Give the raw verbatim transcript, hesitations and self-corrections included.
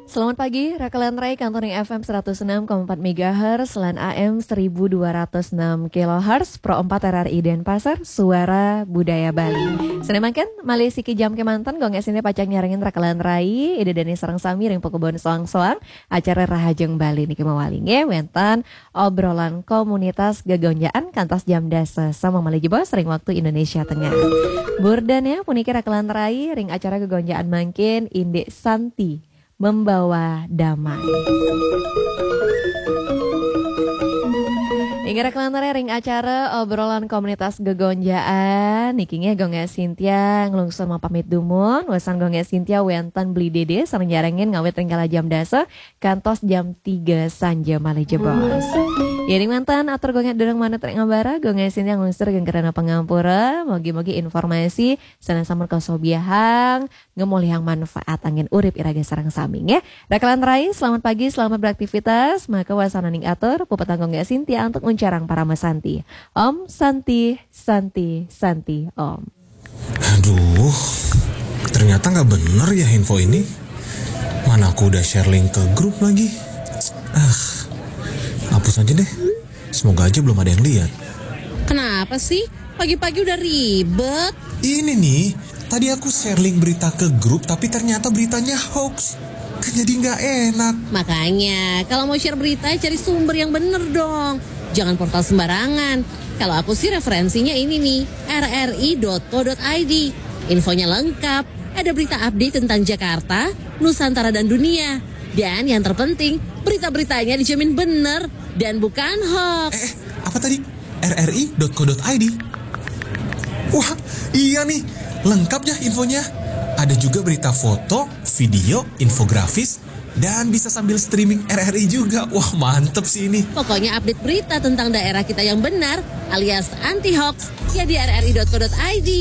Selamat pagi, Rakalan Rai, Kantoring F M seratus enam koma empat megahertz, lan A M seribu dua ratus enam kilohertz, Pro empat R R I Denpasar, Suara Budaya Bali. Sane mangkin, malih siki jam kemanten, Gung Gas Sintia pacang nyarengin Rakalan Rai, Ida Dane sareng sami ring pakubon soang-soang, acara Rahajeng Bali niki mawali nggih, wenten obrolan komunitas gegonjaan kantos jam dasa, sama malih jebos ring waktu Indonesia Tengah. Burdane puniki Rakalan Rai ring acara gegonjaan mangkin, Indik Santi membawa damai. Inggih, Rakalan Rai, ring acara obrolan komunitas gegonjaan niki nggih, Gung Gas Sintia nglungsur mapamit dumun. Wesan Gung Gas Sintia wenten Beli Dede sareng nyarengin ngawit ring kala jam dasa kantos jam tiga sanja malih jebos. Ring manten atur Gung Gas dereng manut ring ambara, Gung Gas Sintia nglungsur geng krana pangampura. Mugi-mugi informasi sane sampun kasobiahang ngemolihang manfaat anggen urip iraga sareng sami nggih. Rakalan Rai, selamat pagi, selamat beraktivitas. Maka wasananing atur, puputang Gung Gas Sintia antuk nguncarang parama santi. Om Santi, Santi, Santi, Om. Aduh, ternyata nggak bener ya info ini. Mana aku udah share link ke grup lagi. Ah, hapus aja deh. Semoga aja belum ada yang lihat. Kenapa sih? Pagi-pagi udah ribet. Ini nih, tadi aku share link berita ke grup tapi ternyata beritanya hoax. Kan jadi nggak enak. Makanya, kalau mau share berita, cari sumber yang bener dong. Jangan portal sembarangan. Kalau aku sih referensinya ini nih, R R I dot co dot I D. Infonya lengkap. Ada berita update tentang Jakarta, Nusantara dan dunia. Dan yang terpenting, berita-beritanya dijamin bener dan bukan hoax. Eh, apa tadi? R R I dot co dot I D. Wah, iya nih, lengkap ya infonya. Ada juga berita foto, video, infografis, dan bisa sambil streaming R R I juga. Wah, mantep sih ini. Pokoknya update berita tentang daerah kita yang benar alias anti hoax ya di R R I dot co dot I D.